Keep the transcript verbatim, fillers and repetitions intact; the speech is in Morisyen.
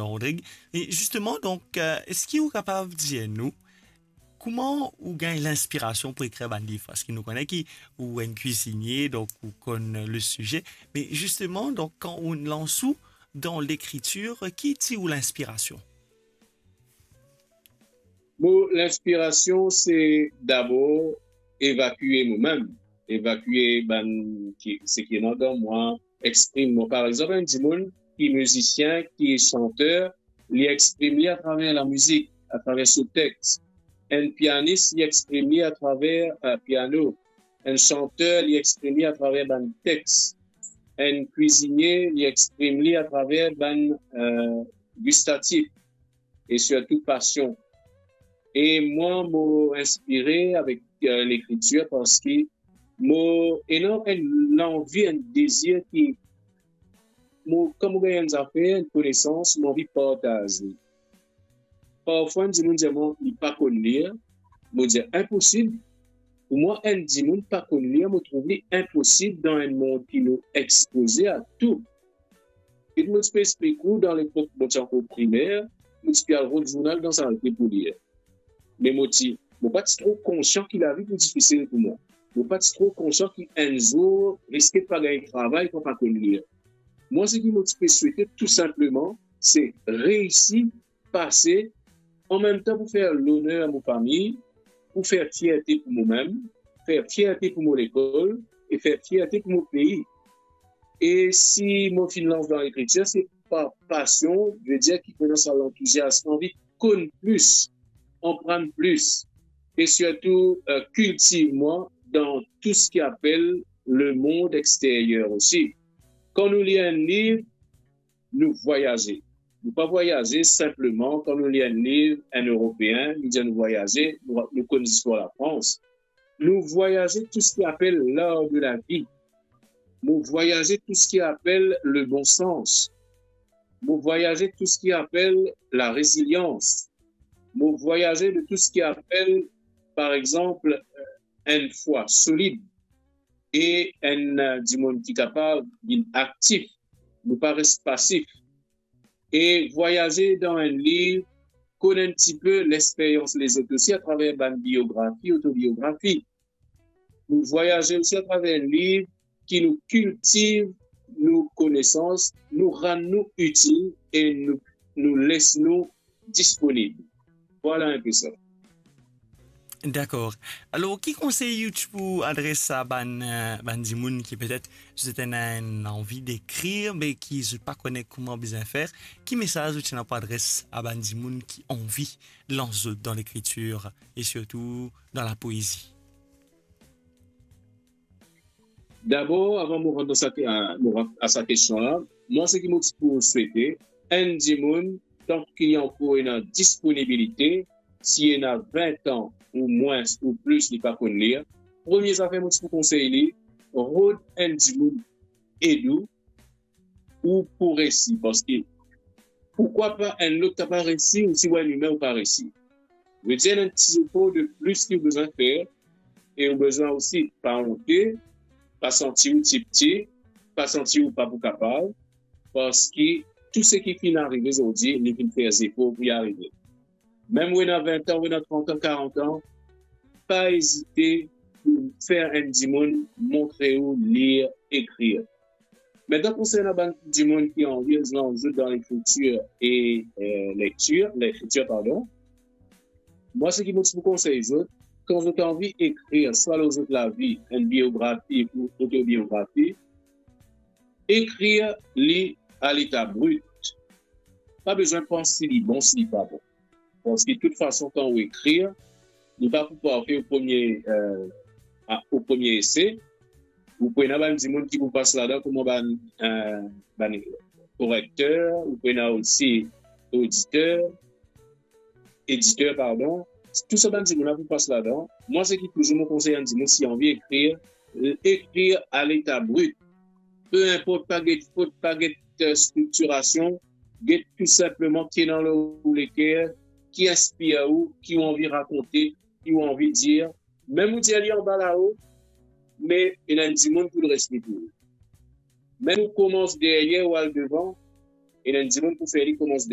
Rodrig. E zisteman, donk, eh, eski ou kapav dir nou kouma ou gagn linspirasion pou ekrir bann liv? Parski nou kone ki ou enn kwizinie, donk ou konn le size. Me zisteman, donk, kan ou lans ou dan lekritir, ki tir ou linspirasion? Mo linspirasion, se dabor evakie momem, evakie bann ki, seki ena dan mwa, exprim mwa. Par exanp, enn dimoun ki mizisien, ki santer, li exprim li atraver lamizik, atraver so text. Enn pianis, li exprim li atraver, eh, piano. Enn santer, li exprim li atraver bann text. Enn kwizinie, li exprim li atraver bann, eh, gistatif e sirtou pasion. E mwa, mo inspire avek, eh, lekritir parski mo ena enn lanvi, enn dezir ki mo, kan mo gagn enn zafer, enn konesans, mo anvi partaz li. Parfwa, enn dimoun dir mwa li pa konn lir, mo dir, "Inposib." Pou mwa, enn dimoun pa konn lir, mo trouv li inposib dan enn mond ki nou expoze a tou. E mo ti pe explik ou, dan lepok mo ti ankor primer, mo ti pe al rod zournal dan sal pou lir. Me mo ti, mo pa ti tro konsian ki lavi pou difisil pou mwa. Mo pa ti tro konsian ki enn zour riske pa gagn travay kan pa konn lir. Mwa, seki mo ti pe swete tou sinpleman, se reisi, pase, anmemtan pou fer loner mo fami, pou fer fierte pou momem, fer fierte pou mo lekol e fer fierte pou mo pei. E si mo finn lans dan lekritir, se par pasion, vedir ki mo ena sa lantouziasm, anvi konn plis, aprann plis, e sirtou, eh, kiltiv mwa dan tou seki apel lemond exteryer osi. Kan nou lir enn liv, nou vwayaze. Nou pa vwayaze sinpleman kan nou lir enn liv enn Eropeen, nou dir nou vwayaze, nou, nou konn zistwar Lafrans. Nou vwayaze tou seki apel l'art de la vie. Mo vwayaze tou seki apel le bon sans. Mo vwayaze tou seki apel la rezilians. Mo vwayaze de tou seki apel, par exanp, enn fwa solid e enn, eh, dimoun ki kapav vinn aktif, nou pa res pasif. E vwayaze dan enn liv, konn enn tipe lexperyans lezot osi atraver bann biografi, otobiografi. Nou vwayaze osi atraver enn liv ki nou kiltiv nou konesans, nou rann nou itil e nou, nou les nou disponib. Vwala enpe sa. Dakor. Alor, ki konsey ou ti pou adres a bann, eh, bann dimoun ki petet zot ena enn anvi ekrir, me ki zot pa kone kouma bizin fer? Ki mesaz ou ti ena pou adres a bann dimoun ki anvi lans zot dan lekritir e sirtou dan lapoezi? Dabor, avan mo rant dan sa, a, mo rant a sa kestion la, mwa, seki mo ti pou swete, enn dimoun, tan ki li ankor ena disponibilite, si li ena vin an ou mwins ou plis, li pa konn lir, premie zafer mo ti pou konsey li, rod enn dimoun ed ou, ou pou resi. Parski pourkwa pa enn lot kapav resi, ou si ou enn imin ou pa resi? Vedir, ena enn ti zefor de plis ki ou bizin fer, e ou bizin osi pa onte, pa santi ou tipti, pa santi ou pa pou kapav, parski tou seki finn arive zordi, li finn fer zefor pou li arive. Mem ou ena vin an, ou ena trant an, karant an, pa ezite pou fer enn dimoun montre ou lir, ekrir. Me dan konsernan bann dimoun ki anvi lans zot dan lekritir e, eh, lektir, lekritir, pardon, mwa, seki mo ti pou konsey zot, kan zot anvi ekrir swa lor zot lavi, enn biografi ou otobiografi, ekrir li a leta brit. Pa bizin pans si li bon, si li pa bon. Parski, de tout fason, kan ou ekrir, li pa pou parfe o premie, eh, a, o premie ese. Ou pou ena bann dimoun ki pou pas ladan kouma bann, eh, bann korekter, ou pou ena osi oditer, editer, pardon. Tou sa bann dimoun la pou pas ladan. Mwa, seki touzour mo konsey enn dimoun, si anvi ekrir, ekrir a leta brit. Pe inport, pa get fot, pa get, eh, striktirasion, get tou sinpleman ki ena lor ou leker, ki inspir ou, ki ou anvi rakonte, ki ou anvi dir. Mem ou dir li anba lao, me ena enn dimoun pou res li pou ou. Mem ou koumans deryer ou al devan, ena enn dimoun pou fer li koumans